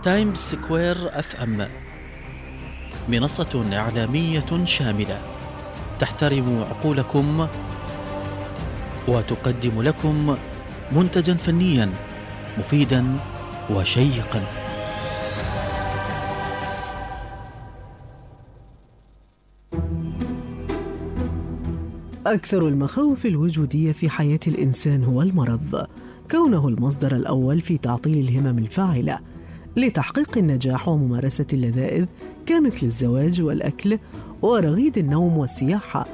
تايمز سكوير FM منصة إعلامية شاملة تحترم عقولكم وتقدم لكم منتجا فنيا مفيدا وشيقا. أكثر المخاوف الوجودية في حياة الإنسان هو المرض، كونه المصدر الأول في تعطيل الهمم الفاعلة لتحقيق النجاح وممارسة اللذائذ كمثل الزواج والأكل ورغيد النوم والسياحة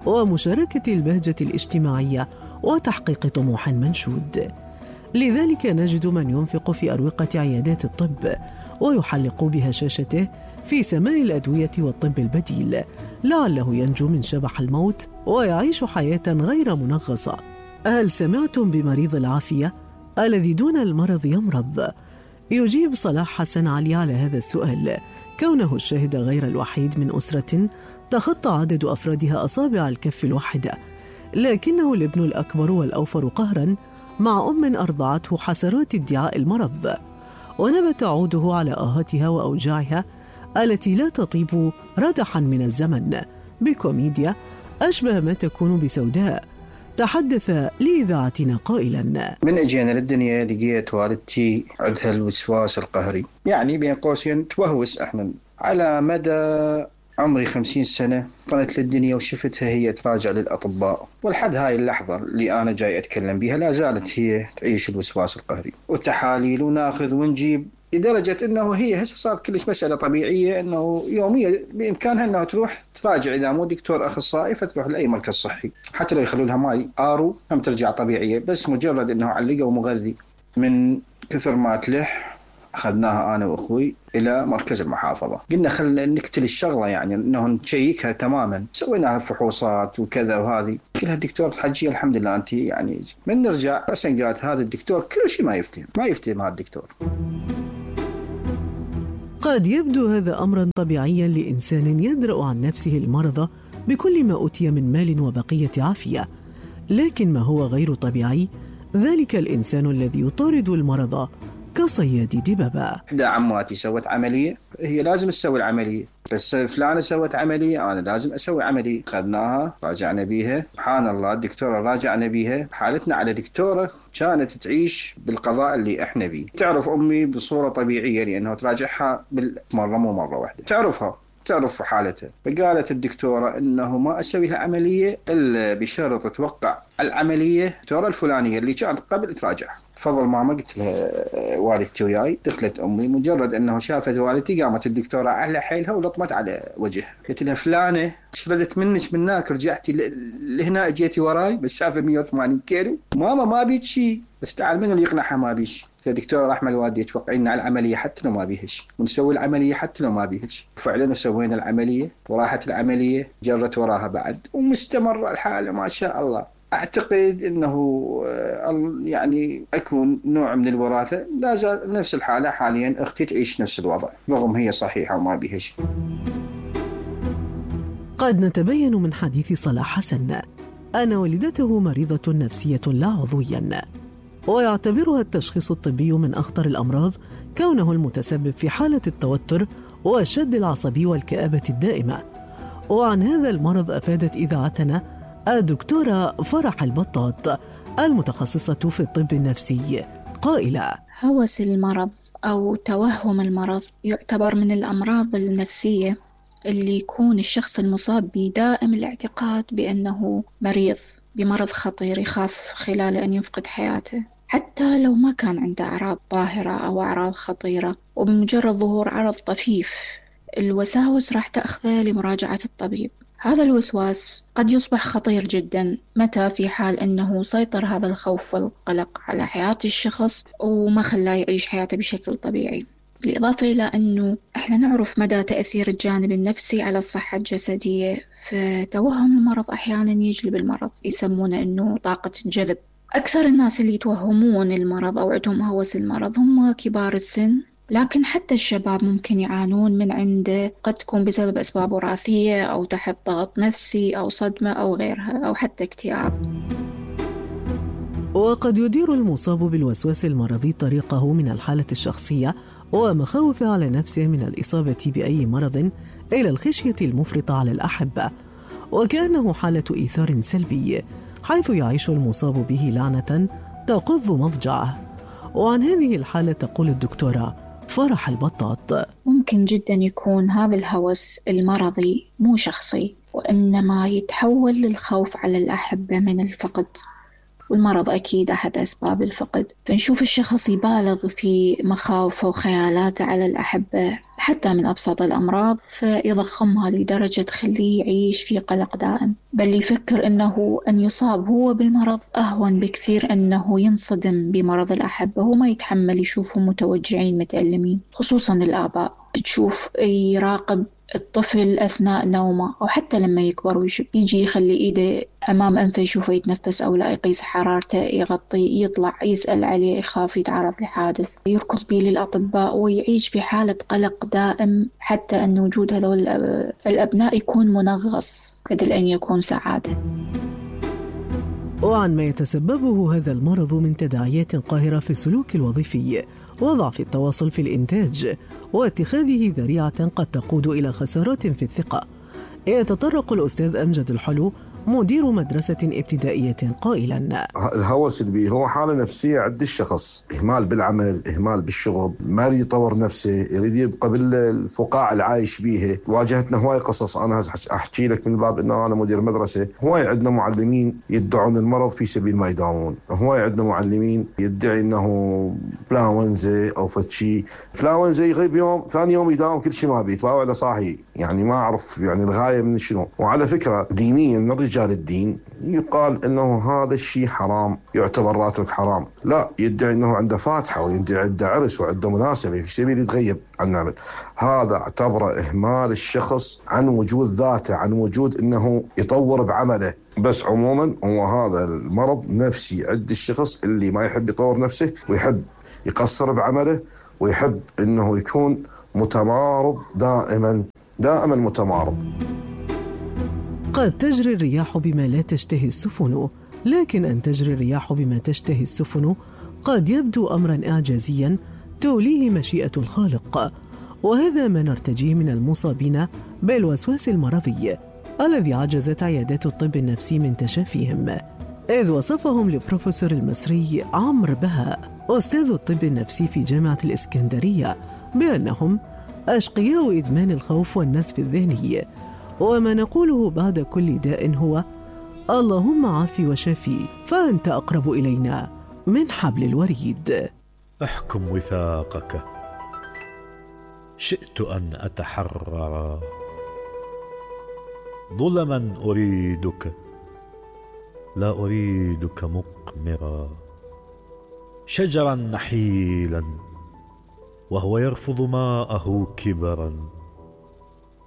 ومشاركة البهجة الاجتماعية وتحقيق طموح منشود. لذلك نجد من ينفق في أروقة عيادات الطب ويحلق بهشاشته في سماء الأدوية والطب البديل لعله ينجو من شبح الموت ويعيش حياة غير منغصة. هل سمعتم بمريض العافية الذي دون المرض يمرض؟ يجيب صلاح حسن علي على هذا السؤال كونه الشاهد غير الوحيد من أسرة تخطى عدد أفرادها أصابع الكف الواحدة، لكنه الابن الأكبر والأوفر قهرا مع أم أرضعته حسرات ادعاء المرض، ونبت عوده على آهاتها وأوجاعها التي لا تطيب ردحا من الزمن بكوميديا أشبه ما تكون بسوداء. تحدث لإذاعتنا قائلا: من اجينا للدنيا لقيت والدتي عندها الوسواس القهري، يعني بين قوسين توهوس. احنا على مدى عمري 50 سنة طلعت للدنيا وشفتها هي تراجع للأطباء، والحد هاي اللحظة اللي أنا جاي أتكلم بها لا زالت هي تعيش الوسواس القهري، وتحاليل وناخذ ونجيب، لدرجة أنه هي هسه صارت كلش مسألة طبيعية أنه يوميا بإمكانها أنه تروح تراجع إذا مو دكتور أخصائي فتروح لأي مركز صحي، حتى لو يخلوا لها ماي آرو هم ترجع طبيعية، بس مجرد أنه علقوا مغذي. من كثر ما تلح أخذناها أنا وأخوي إلى مركز المحافظة، قلنا خلنا نقتل الشغلة، يعني أنه نشيكها تماما. سوينا فحوصات وكذا وهذه كلها الدكتور الحجية الحمد لله أنت يعني من نرجع بس قالت هذا الدكتور كل شيء ما يفتهم هذا الدكتور. قد يبدو هذا أمرا طبيعيا لإنسان يدرأ عن نفسه المرض بكل ما أوتي من مال وبقية عافية، لكن ما هو غير طبيعي ذلك الإنسان الذي يطارد المرض كصياد دببة. إحدى عماتي سوت عملية، هي لازم تسوي العملية، بس فلانة سوت عملية أنا لازم أسوي عملية. خذناها راجعنا بيها، سبحان الله الدكتورة راجعنا بيها حالتنا على دكتورة كانت تعيش بالقضاء اللي إحنا بيه. تعرف أمي بصورة طبيعية لأنه تراجعها بالمرة مو مرة واحدة، تعرف حالتها، فقالت الدكتورة إنه ما أسوي لها عملية إلا بشرط توقع العملية الدكتورة الفلانية اللي كانت قبل تراجع. تفضل ماما، قلت لها والدتي وياي. دخلت أمي، مجرد أنه شافت والدتي قامت الدكتورة على حيلها ولطمت على وجهها. قلت لها فلانة شردت منك منك رجعتي لهنا اجيتي وراي بالسافة 180 كيلو. ماما ما بيك شيء، بس تعال من اللي يقنعها ما بيش. الدكتورة رحمة الوالدة توقعينا على العملية حتى لو ما بيهش، ونسوي العملية حتى لو ما بيهش. وفعلا سوينا العملية وراحت العملية، جرت وراها بعد ومستمر الحالة ما شاء الله. أعتقد أنه يعني أكون نوع من الوراثة، لا زال نفس الحالة حاليا. أختي تعيش نفس الوضع رغم هي صحيحة وما بيها شيء. قد نتبين من حديث صلاح حسن أن والدته مريضة نفسية لا عضويا، ويعتبرها التشخيص الطبي من أخطر الأمراض كونه المتسبب في حالة التوتر والشد العصبي والكآبة الدائمة. وعن هذا المرض أفادت إذاعتنا الدكتورة فرح البطاط المتخصصة في الطب النفسي قائلة: هوس المرض أو توهم المرض يعتبر من الأمراض النفسية اللي يكون الشخص المصاب بدائم الاعتقاد بأنه مريض بمرض خطير يخاف خلال أن يفقد حياته، حتى لو ما كان عنده أعراض ظاهرة أو أعراض خطيرة. وبمجرد ظهور عرض طفيف الوساوس راح تأخذه لمراجعة الطبيب. هذا الوسواس قد يصبح خطير جدا متى في حال أنه سيطر هذا الخوف والقلق على حياة الشخص وما خلاه يعيش حياته بشكل طبيعي. بالإضافة إلى أنه إحنا نعرف مدى تأثير الجانب النفسي على الصحة الجسدية، فتوهم المرض أحيانا يجلب المرض، يسمونه أنه طاقة الجلب. أكثر الناس اللي يتوهمون المرض أو عندهم هوس المرض هم كبار السن، لكن حتى الشباب ممكن يعانون من عنده، قد تكون بسبب أسباب وراثية أو تحت ضغط نفسي أو صدمة أو غيرها أو حتى اكتئاب. وقد يدير المصاب بالوسواس المرضي طريقه من الحالة الشخصية ومخاوف على نفسه من الإصابة بأي مرض إلى الخشية المفرطة على الأحبة، وكأنه حالة إيثار سلبي حيث يعيش المصاب به لعنة تقض مضجعه. وعن هذه الحالة تقول الدكتورة فرح البطاط: ممكن جدا يكون هذا الهوس المرضي مو شخصي، وإنما يتحول للخوف على الأحبة من الفقد، والمرض أكيد أحد أسباب الفقد. فنشوف الشخص يبالغ في مخاوفه وخيالاته على الأحبة حتى من أبسط الأمراض، فيضخمها لدرجة تخليه يعيش في قلق دائم، بل يفكر أنه أن يصاب هو بالمرض أهون بكثير أنه ينصدم بمرض الأحبة، وما يتحمل يشوفهم متوجعين متألمين. خصوصا الآباء تشوف يراقب الطفل أثناء نومه أو حتى لما يكبر يجي يخلي إيده أمام أنفه يشوفه يتنفس أو لا، يقيس حرارته، يغطي، يطلع يسأل عليه، يخاف يتعرض لحادث، يركض به للأطباء ويعيش في حالة قلق دائم، حتى أن وجود هذول الأبناء يكون منغص بدل أن يكون سعادة. وعن ما يتسببه هذا المرض من تداعيات قاهرة في السلوك الوظيفي وضعف التواصل في الإنتاج واتخاذه ذريعة قد تقود إلى خسارات في الثقة، يتطرق الأستاذ أمجد الحلو مدير مدرسة ابتدائية قائلا: الهوس اللي هو حالة نفسية عند الشخص، إهمال بالعمل، إهمال بالشغل، ما يريد يطور نفسه، يريد يبقى بالفقاعة اللي عايش بيها. واجهتنا هواي قصص، أنا أحكي لك من باب أنه أنا مدير مدرسة، هواي عندنا معلمين يدعون المرض في سبيل ما يداومون، هواي عندنا معلمين يدعي أنه فلاونزا أو فتشي، فلاونزا يغيب يوم ثاني يوم يداوم كل شيء ما بيت ولا صاحي، يعني ما أعرف يعني الغاية من شنو. وعلى فكرة دينيا من رجال الدين يقال انه هذا الشيء حرام، يعتبر راتب حرام، لا يدعي انه عنده فاتحه ويدعي عنده عرس وعنده مناسبه في سبيل يتغيب عن العمل. هذا اعتبره اهمال الشخص عن وجود ذاته، عن وجود انه يطور بعمله. بس عموما هو هذا المرض نفسي عند الشخص اللي ما يحب يطور نفسه ويحب يقصر بعمله ويحب انه يكون متمارض دائما متمارض. قد تجري الرياح بما لا تشتهي السفن، لكن أن تجري الرياح بما تشتهي السفن قد يبدو أمرا إعجازيا توليه مشيئة الخالق، وهذا ما نرتجيه من المصابين بالوسواس المرضي الذي عجزت عيادات الطب النفسي من تشافيهم، إذ وصفهم لبروفيسور المصري عمرو بهاء أستاذ الطب النفسي في جامعة الإسكندرية بأنهم أشقياء إدمان الخوف والنزف الذهني. وما نقوله بعد كل داء هو: اللهم عافي وشافي، فأنت أقرب إلينا من حبل الوريد. احكم وثاقك، شئت أن أتحرر، ظلما أريدك لا أريدك مقمرا، شجرا نحيلا وهو يرفض ماءه كبرا،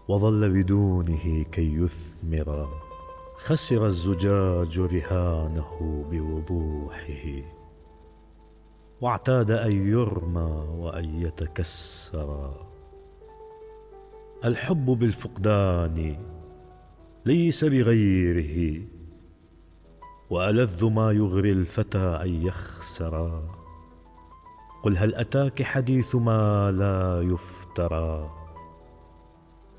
وظل بدونه كي يثمر، خسر الزجاج رهانه بوضوحه، واعتاد أن يرمى وأن يتكسر. الحب بالفقدان ليس بغيره، وألذ ما يغري الفتى أن يخسر. قل هل أتاك حديث ما لا يفترى،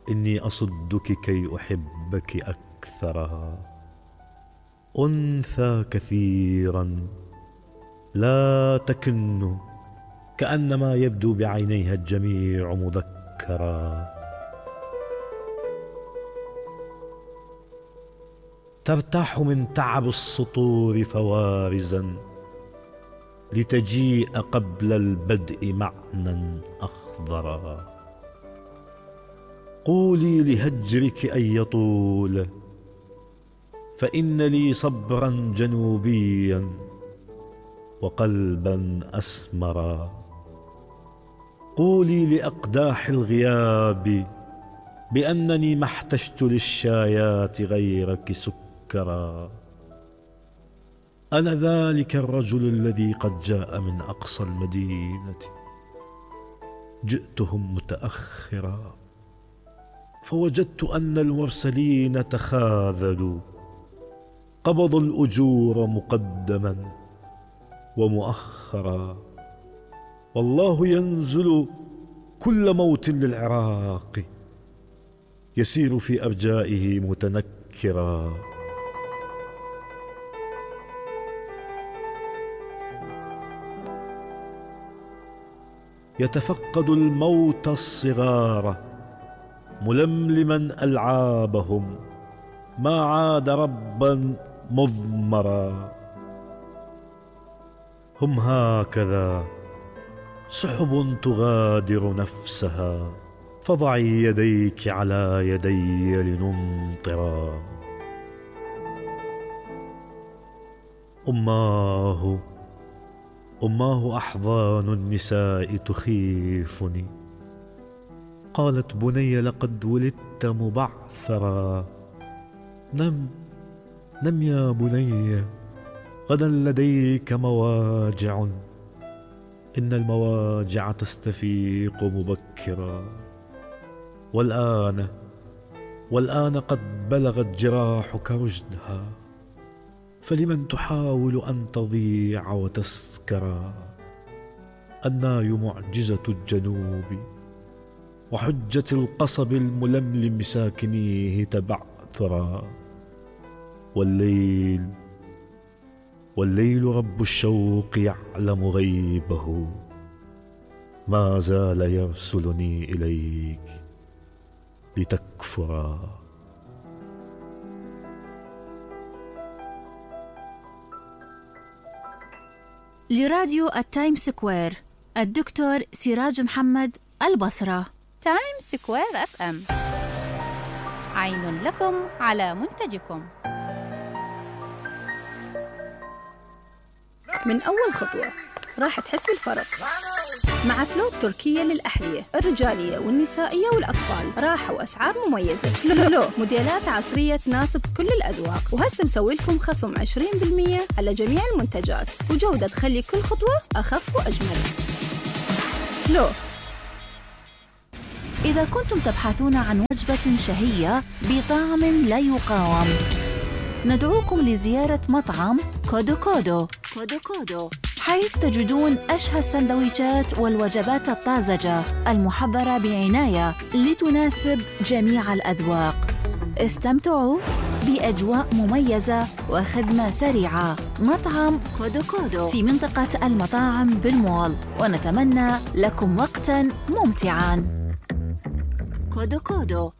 إني أصدك كي أحبك أكثر. أنثى كثيرا لا تكن، كأنما يبدو بعينيها الجميع مذكرا. ترتاح من تعب السطور فوارزا، لتجيء قبل البدء معنى أخضرا. قولي لهجرك أن يطول، فإن لي صبرا جنوبيا وقلبا أسمرا. قولي لأقداح الغياب بأنني ما احتجت للشايات غيرك سكرا. أنا ذلك الرجل الذي قد جاء من أقصى المدينة، جئتهم متأخرا، فوجدت أن المرسلين تخاذلوا، قبضوا الأجور مقدما ومؤخرا. والله ينزل كل موت للعراق يسير في أرجائه متنكرا. يتفقد الموت الصغار ململما ألعابهم، ما عاد ربا مضمرا. هم هكذا سحب تغادر نفسها، فضعي يديك على يدي لنمطرا. أماه أحضان النساء تخيفني. قالت بني لقد ولدت مبعثرا. نم يا بني، غدا لديك مواجع، إن المواجع تستفيق مبكرا. والآن قد بلغت جراحك رشدها، فلمن تحاول أن تضيع وتسكرا. الناي معجزة الجنوب وحجة القصب الململم ساكنيه تبعثرا. والليل رب الشوق يعلم غيبه، ما زال يرسلني إليك لتكفرا. لراديو التايم سكوير، الدكتور سراج محمد، البصرة. تايم سكوير FM، عين لكم على منتجكم. من أول خطوة راح تحس بالفرق مع فلو التركية للأحذية الرجالية والنسائية والأطفال. راحة وأسعار مميزة. فلو موديلات عصرية تناسب كل الأذواق، وهسه مسوي لكم خصم 20% على جميع المنتجات، وجودة تخلي كل خطوة أخف وأجمل. فلو. إذا كنتم تبحثون عن وجبة شهية بطعم لا يقاوم، ندعوكم لزيارة مطعم كودو كودو، حيث تجدون أشهى السندويشات والوجبات الطازجة المحضرة بعناية لتناسب جميع الأذواق. استمتعوا بأجواء مميزة وخدمة سريعة. مطعم كودو كودو في منطقة المطاعم بالمول، ونتمنى لكم وقتاً ممتعاً. كودو كودو.